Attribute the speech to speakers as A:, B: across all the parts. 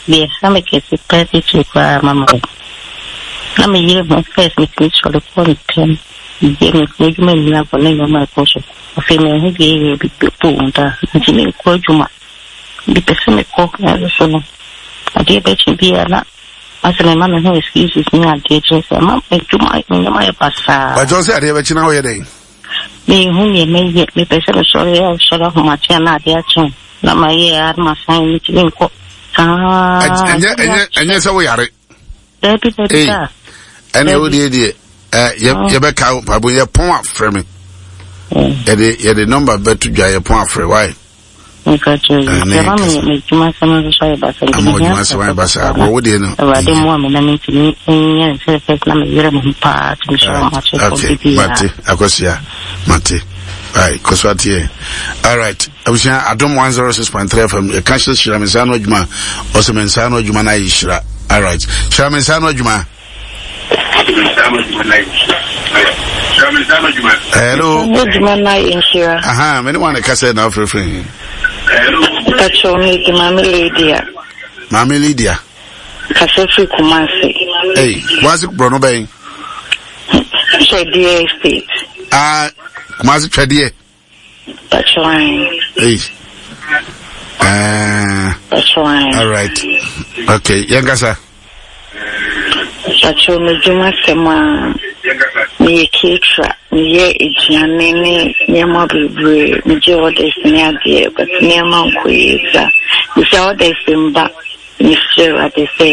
A: Deɛ ɛha me kɛse paa titiri koraa ma me na me yere ho first metumi sɔre kɔ ntɛm yɛ me adwuma nyinaa kɔ ne nneɛma ɛkɔ so. Afei manhu deɛ ɛyɛ bi bɛbɔ wɔn da nti menkɔ adwuma. Mepɛ sɛ mekɔ nanso so no adeɛ bɛkye biara na asɛ mema me ho excuses ne adeɛ kyerɛ sɛ ma adwuma me nneɛma yɛ basaa.
B: Bàtɛ sɛ adeɛ bɛkye na woyɛ dɛn?
A: Menhu deɛ mɛyɛ mepɛ sɛ mesɔre a sɔre ahomakye a na adeɛ akye na mayɛ a na masan metumi nkɔ saa.
B: Ɛnyɛ ɛnyɛ ɛnyɛ sɛ woyare.
A: Dabi dabi da.
B: Ɛnna ɛwɔ deɛ deɛ ɛ yɛbɛka mpaebɔ yɛ pɔn afrɛ me. Yɛde yɛde nɔmba bɛto dwa yɛ pɔn afrɛ wae.
A: Ama
B: adwuma asɛm ayɛ basa agorɔ wo deɛ no.
A: Awurade mmoa me na mentumi nyɛ ne sɛ fɛs na meyere me ho paa tumi sɔrɔ ma kyɛ kɔ bibi
B: Mate akɔsia mate. Right, kɔso ateɛ. All right. Abusua Adom 106.3 FM yɛka hyɛ hyira me nsa ano adwuma ɔsɛ me nsa ano adwuma no ayɛ hyira. All right. Hyira me nsa ano adwuma. Hello.
A: Adwuma no ayɛ nhyira.
B: Aha, me ne wɔn kasa na afrɛfrɛ yi.
A: Pacho me di Maame Lydia.
B: Maame Lydia.
A: Kasa firi Kumasi.
B: Hey, Kumasi borɔno bɛn?
A: Twɛdeɛ estate.
B: Ah, Kumasi twɛdeɛ.
A: Pacho ayi.
B: Hey.
A: Pacho ayi.
B: All right. Okay, yɛn kasa.
A: Pacho me dwuma sɛm a meyɛ caterer meyɛ aduane ne nneɛma bebree megye orders ne adeɛ but nneɛma nkɔ yie saa bisa orders mba mesrɛ awurade sɛ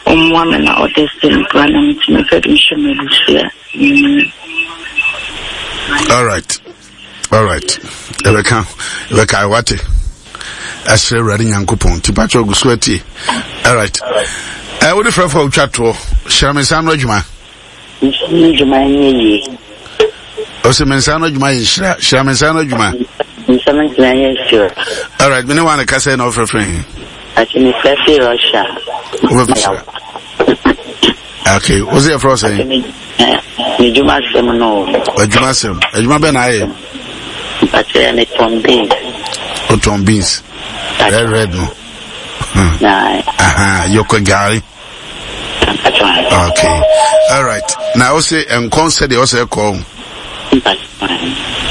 A: ɔmmoa me na orders mbra na metumi fɛ de nhyɛ m'abusua.
B: All right. All right. Ɛbɛka ɛbɛka wate. Ɛsrɛ Awurade Nyankopɔn nti pakyɛ ɔgu so atie. All right. Ɛ wode frɛfo a wotwa toɔ hyira me nsa ano adwuma.
C: Nsa ano adwuma nyɛ yie.
B: Ɔsɛ me nsa ano adwuma yɛ nhyira. Hyira me nsa ano adwuma.
C: Nsa ano adwuma yɛ nhyira.
B: All right. Mene wa ne kasa na ɔfrɛfrɛ he.
C: Ati me frɛ fi Russia.
B: Wobɛfrɛ. Okay, wo sɛ yɛfrɛ wo sɛn?
C: Medwuma asɛm no.
B: Adwuma asɛm. Adwuma bɛn na ayɛ?
C: Mpakyɛ metɔn beans.
B: Wotɔn beans. Red red no.
C: Hmm.
B: Aha, yɔkɔ gari. Okay. All right. Na wo se nkɔn sɛ deɛ ɔsɛ kɔ.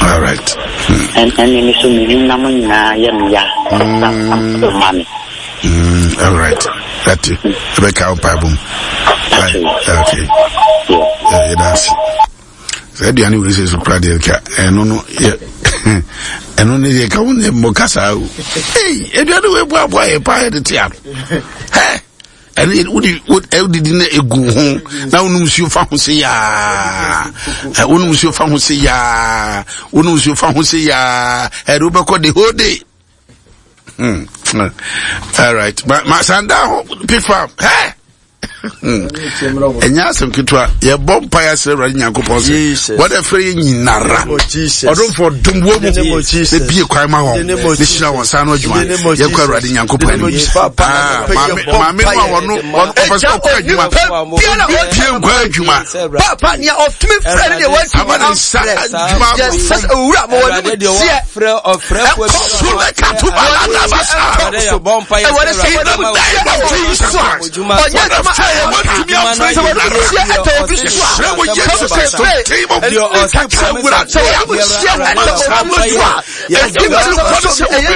B: All right.
C: Ɛne me so me nam nyinaa yɛ me ya. Ma me.
B: All right. That ɛbɛka wo mpaebɔ mu. Okay. Yɛda ase. Sɛ aduane wei sɛ so kora deɛ nka ɛno no yɛ ɛno ne deɛ ka wo ne mmɔ kasa o. Ei, aduane wei boaboa yɛ paa yɛde te ano. Hɛ! Ɛne wode wodidi na egu ho na wonom nsuo fa ho se yaa. Wonom nsuo fa ho se yaa. Wonom nsuo fa ho se yaa. Ɛde wobɛkɔ the whole day. Hmm. All right. Ma ma sanda ho pifa. Hey. Ɛnyɛ asɛm ketewa yɛbɔ mpa yɛ asrɛ awurade nyankopɔn sɛ wɔde frɛ yɛ nyinara ɔdomfoɔ dom wɔ mu na bie kwan ma wɔn ne hyira wɔn saa no adwuma yɛkɔ awurade nyankopɔn anim maame no a wɔno ɔpɛ sɛ ɔkɔ adwuma bie nkɔ adwuma
D: papa nea ɔtumi frɛ ne deɛ wɔatumi amfrɛ yɛsɛ sɛ owura ma wɔne mu teɛ ɛkɔ so ɛwɔde sɛ wɔne mu teɛ ɛwɔ obi so a ɔnyɛ adwuma a ɛwɔ sɛ wɔne mu teɛ ɛtɔ obi so a kɔm sɛ sɛ sɛ wɔne mu teɛ ɛtɔ obi so a ɛdi mu kɔ so ɛyɛ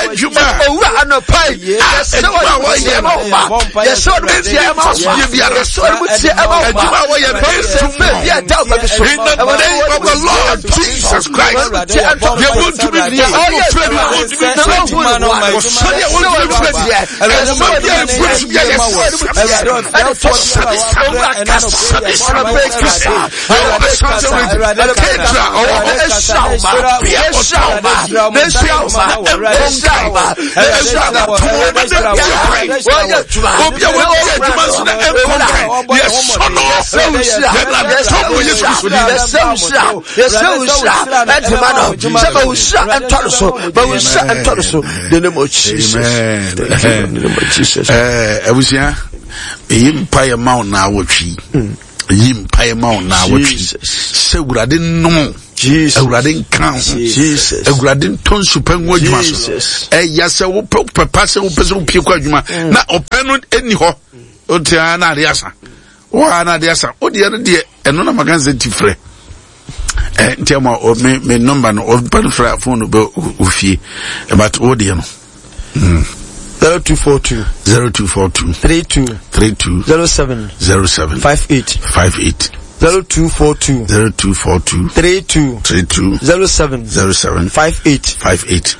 D: nhyira owura anɔpa yi yɛsɛ wɔne mu teɛ ɛma wo ba yɛsɛ wɔne mu teɛ ɛma wo ba yɛsɛ wɔne mu teɛ ɛma wo ba kɔm sɛ fɛ bi a da wo ba bi so
B: ɛwɔde wɔ the Lord Jesus Christ yɛ wɔn tumi bi ɔyɛ fɛ bi wɔn tumi fɛ bi wɔsɔre a wɔn tumi fɛ bi ɛsɛ bi a ebu bi a yɛ sɛbi sɛbi sɛbi kasa Abusua, eyi mpa yɛ ma wo na awɔtwi. Yi mpaeɛ ma wo naawɔtwe sɛ Awurade nnom. Awurade nka ho. Awurade ntɔ nsupa ngu adwuma so. Ɛyɛ sɛ wopɛ pɛpa sɛ wopɛ sɛ wopie kɔ adwuma mm. na ɔpɛ no ɛni hɔ. Wote ara na ade asa. Wo ara na ade asa. Wodeɛ no deɛ ɛno na maka sɛ ti frɛ. Eh, nti ama me me number no ɔba no frɛ phone no bɛ ofie. But wodeɛ no. Mm.
D: 0242
B: 0242
D: 32
B: 32
D: 07
B: 07
D: 58
B: 58
D: 0242
B: 0242
D: 32
B: 32
D: 07
B: 07
D: 58
B: 58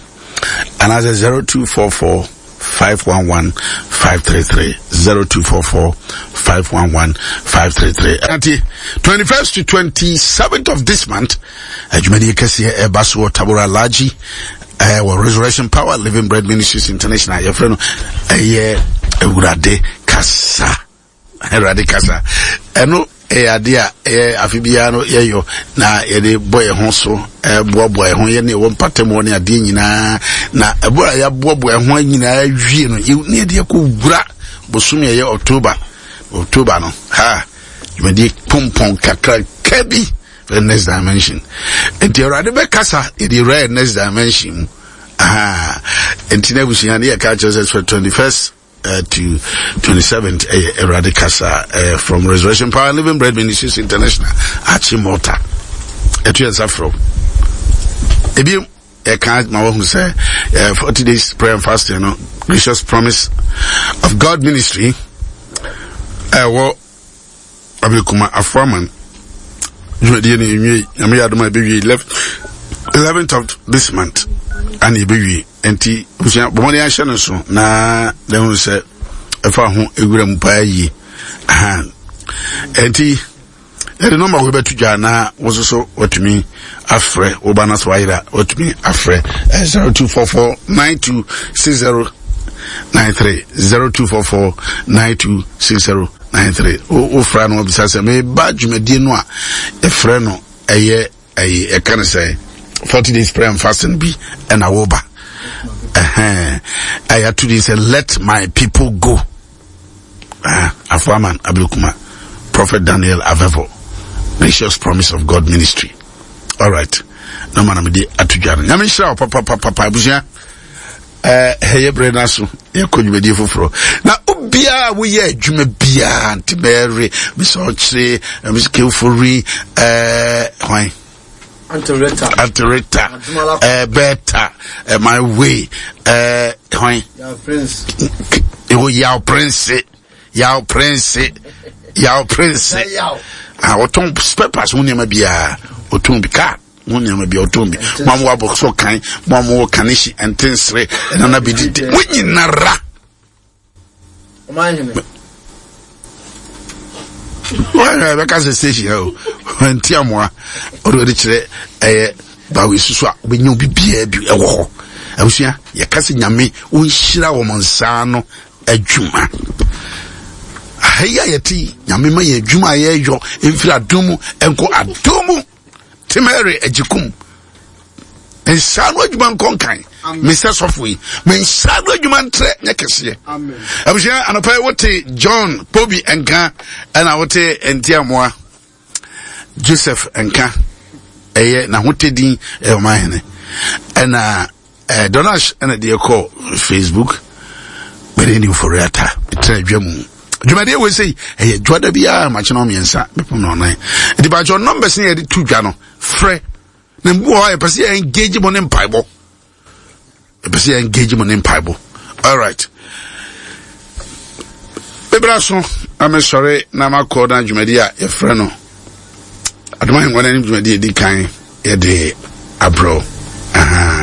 B: and as a 0244 511 533 0244 511 533 Ati 21st to 27th of this month adwumadie kɛseɛ ɛba so wɔ Tabora Laji ɛɛ wɔ Resurrection Power Living Bread Ministries International yɛfrɛ no ɛyɛ Awurade kasa Awurade kasa ɛno ɛyɛ adeɛ a ɛyɛ afe biara no yɛyɔ na yɛde bɔ yɛn ho so ɛboaboa yɛn ho yɛne ɛwɔ mpatam hɔ ne adeɛ nyinaa na ɛberɛ a yɛaboaboa yɛn ho nyinaa wie no ne yɛde akɔ wura bosome ɛyɛ October October no ha dwumadie pompɔn kakraka bi the next dimension nti awurade bɛkasa yɛde awura yɛ next dimension mu aha nti na abusua ne yɛka kyerɛ sɛ 21st uh, to 27th ɛyɛ eh, awurade kasa uh, from resurrection power living bread ministries international akye malta ɛto yɛn nsa frɛ ebi ɛka ma wahu sɛ uh, 40 days prayer and fasting no gracious promise of god ministry ɛwɔ uh, Abirikuma Afoaman dwumadie no nwie nyame yɛ adom a ɛbɛwie 11th of this month ana ɛbɛwie nti abusua bɔmmɔden ahyɛ no so na dɛhunu sɛ ɛfa ho ewura mu paa yie nti yɛde nɔmba wo bɛto dwa na wo nso so watumi afrɛ wo ba no so ayera watumi afrɛ 0244 9260 93 0244 9260 93 wofra no wabisa sɛ meba dwumadie no a yɛfrɛ no ɛyɛ ɛyɛ ɛka no sɛ 40 days prayer and fasting bi ɛna woba ɛhɛn ɛyɛ ato din sɛ let my people go ah, afoaman abirikuma prophet daniel avevo gracious promise of god ministry all right na ma na mede ato dwa no nyame nhyira wo papapapapa abusua ɛyɛ berɛ no aso yɛkɔ dwumadie foforɔ na obiaa woyɛ adwuma biaa nti mɛre mesɛ ɔkyere mesɛ kewfori hwan antereta bɛta my way hwan ɛwɔ yaw prince yaw prince yaw prince ɔtɔn spare parts ho nneɛma biaa ɔtɔn bi kaa mo nneɛma bi ɔtɔn bi mo a mo wɔ abɔso kan mo a mo wɔ kanehyi ntensere ɛnana bi didi mo nyinara. wɔn a bɛka sɛ station ha o nti amoa ɔde ɔde kyerɛ ɛyɛ bawo esusu a wobɛnya obi biara bi ɛwɔ hɔ abusua yɛka sɛ nyame wɔnhyira wɔn nsa ano adwuma aha yi a yɛte yi nyame ma yɛn adwuma a yɛyɔ mfiri adom mu nkɔ adom mu Temere Agyekum nsa no adwuma nkɔ nkan mesɛ sɔfo yi me nsa no adwuma ntrɛ nyɛ kɛseɛ abusua anɔpa yi wote John Pobi nka ɛna wote Ntiamoa Joseph nka ɛyɛ n'ahotɛdin ɛyɛ ɔman hene ɛna Eh, Donash ɛna deɛ kɔ Facebook mɛde ne mfori ata ɛtena adwa mu dwumadeɛ wei sɛ ɛyɛ dwada biara makyena mmiɛnsa mepem na ɔnan nti bakyɛ numbers ne yɛde to dwa no frɛ na mbu hɔ a yɛpɛ sɛ yɛ engage mo ne mpaebɔ yɛpɛ sɛ yɛ engage mo ne mpaebɔ alright bebra so na mesɔre na makɔ na dwumadi a yɛfrɛ no adom ahengua no anim dwumadi ɛdi kan yɛde abrɛw.